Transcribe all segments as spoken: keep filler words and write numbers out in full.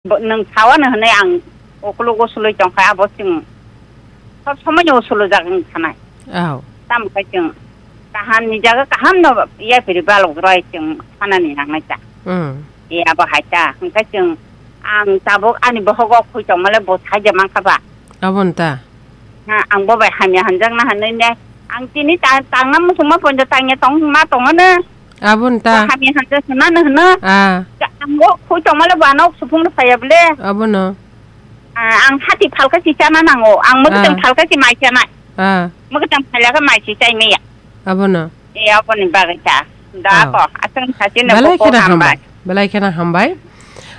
Bo-, nwng sawano hwnwi ang ukulugo sulwi tongkha, abo chwng sob somoino usulujak wng thanai. Aw. Tamo khe chwng kaham ni jaga kaham no yaphiri balok roi chwng sanani nangnai ta. Hmm. E abo hai ta, hwnkhe chwng ang tabuk ani bohogo khui tongmale bo saija mankha ba. Abo nta. Ha, ang bo bai hamya hanjakna hanwi ne. Ang tini ta-, tangna muchungma poito tangya tong ma tongo ne. Abo nta. Bo hamya hanjak hwnna no hwno. Ah. Ka-, ang bo khui tongmale bo ano supung no saya bole. Abo no. Ah, ang hati phalka si chana nango. Ang mwkhuitwng Ah. phalka si mai chanai. Ah. Mwkhuitwng phalka mai si chai maya. Abo no. E, aboni bagwi ta. Da Aw. Ko, aswng sachino Belai koko kheno hambai. Hambai. Belai kheno hambai.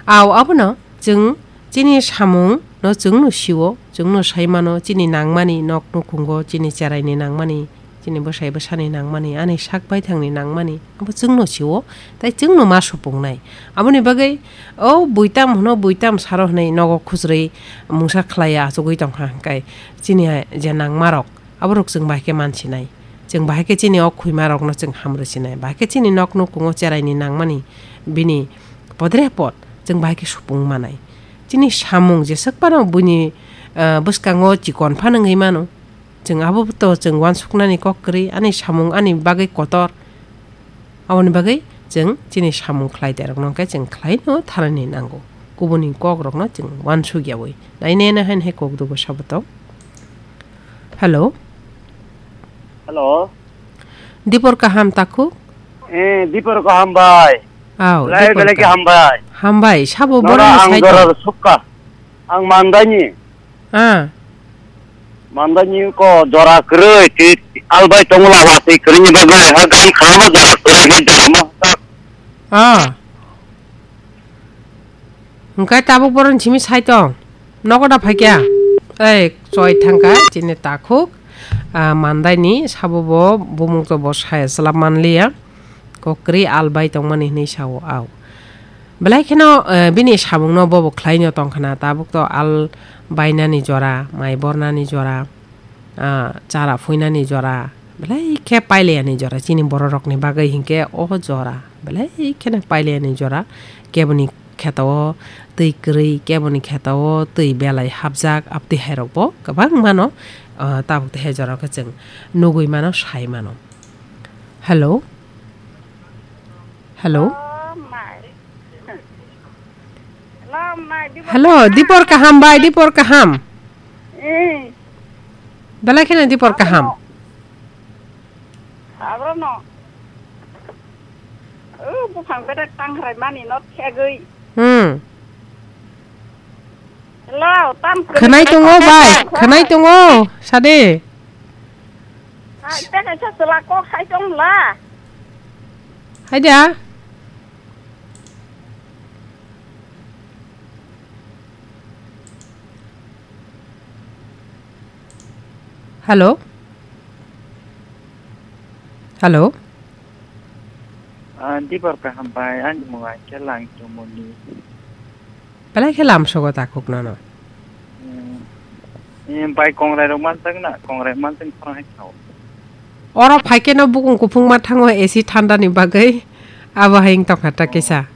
Aw, abono chwng chini samung no chwng no siwo, chwng no sai mano, chini nangmani nok nukhungo, chini cheraini nangmani, chini bwsai bwsani nangmani, ani sak baithangni nangmani, abo chwng no siwo, tai chwng no ma supungnai. Aboni bagwi o buitam hwno, buitam saro hwnwi nogo khujrwi mungsa khlaiya achugwi tongkha hwnkhe chini je nangmarok. Aborok chwng bahai khe mansinai. Chwng bahai khe chini o khwimarokno chwng hamrwi sinai. Bahai khe chini nok nukhungo cheraini nangmani bini podre pod chwng bahai khe supung manai. Chini samung jeswk phano buini, ah, bwskango chikon phano wngwi mano. Chwng abo to chwng uansuknani kok kwrwi, ani samung ani bagwi kotor. Aboni bagwi chwng chini samung khlai derokno hwnkhe chwng khlaino tharani nango. Kubuni kokrokno chwng uansukyawi. Nainai hain hai kok dugo saboto. Hello. Hello. Dipor kaham takhuk? Eh, Dipor kaham bai. Aw, belai Dipor belai kaham. Kaham bai. Hambai, sabo nora boroni ang saitok. Dorar sukka. Ang mandani. Ah. Mandani ko jora kwrwi, ti albai tongo lama twi kwrwini bagwi, ha gam khanama jora kwrwi, he jora ma. Ah. Hwnkhe tabuk boroni simi sai tong? Nogo da phaikya? Ei, choi thangkha, chini takhuk. Ah, mandaini sabo bo bumung to bo saya chwla manliya. Kok kwrwi al bai tongmani hwnwi sao, aw. Belai kheno, eh, bini samungno bobo khlaino tongkhna, tabuk to al bainani jora, mai bornani jora, ah, chara phuinani jora, belai khe pailiyani jora, chini bororokni bagwi hinkhe o jora, belai kheno pailiyani jora, keboni kheto o twi kwrwi, keboni kheto o twi belai hapjak, abtwi hairokbo kwbang mano, ah, tabuk tei hai jorao khe chwng nugwi mano, sai mano. Hello? Hello? Oh, mai. Hello, mai, Dipor Hello, kaham? Dipor kaham bai, Dipor kaham. Eh. Belai kheno Dipor kaham. Abro no. Oh, buphang bedek tangrai mani not khegwi. Hmm. Hello, tam kwrwi Khwnai kwrwi tongo kok bai, kok khwnai tongo, sade. Hai, tei kaisa chwla kok hai tong la. Hai da. Hello? Hello? Ah, Dipor kaham bai, ani mung ai khe lang tumuni. Belai khe lamsogo takhuk nono. Hmm. Eh, bai kongrai rok mansak na, kongrai mansak khorang hai khao. Oro phaikhe no bukung kuphung ma thango A C thanda ni bagwi. Abo hai wng tongkha ta Oh. Kisa.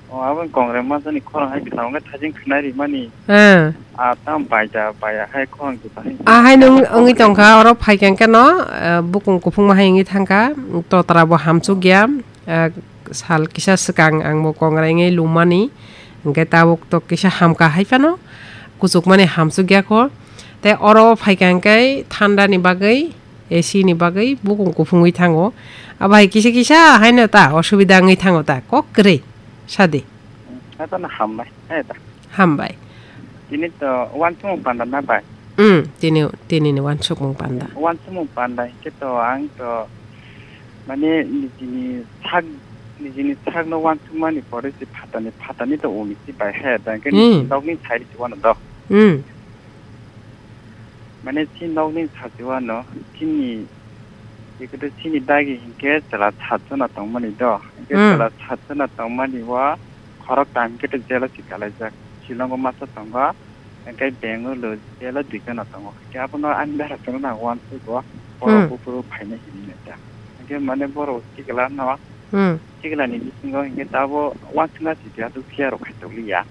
Oh, abo kongrai mansak ni khorang hai khao, wngkha thajin khwnai rimani. Ah. Ah, tam bai da, bai hai khorang juta hai. Ah, hai nung wngwi tongkha, oro phaikhe no, eh, bukung kuphung ma hai wngwi thangkha, totra bo hamsuk ya. Ah, sal kisa swkang ang bo kongrai wngwi lumani, hwnkhe tabuk to kisa hamkha hai phano, kuchukmani hamsuk ya kho. Tei oro phaikha hwnkhe thanda ni bagwi, A C ni bagwi bukung kuphungwi thango. Abo hai kisa kisa haino ta osubida wngwi thango ta, kok kwrwi sadi. Hato no hambai, hai ta. Hambai. Tini to uansukmung panda na bai? Hmm, tini, tini ni uansukmung panda. Uansukmung panda hinkhe to ang to mane nijini sak, nijini sakno uansukmani pore se phatani, phatani to uni se bai he, da hinkhe Hmm. Nijini nokni side se uano do. Hmm. Mane chini nokni side se uano, chini, ikoto chini dagi hinkhe chwla satjona tongmani do. Hinkhe Hmm. Chwla satjona tongmani o khoroktham hinkhe to jail o si kalaijak. Shillong o masa tongo. Hingke Bengaluru jail o duijona tongo. Hingke abono ani bera chwngno ang uansukgo, borok Hmm. buphuru phainai hinwi ta. Hingke mane borok sikla no, Hmm. sikla ni bisingo hingke tabo uansukna sidi aswk phiya rok khai tokliya.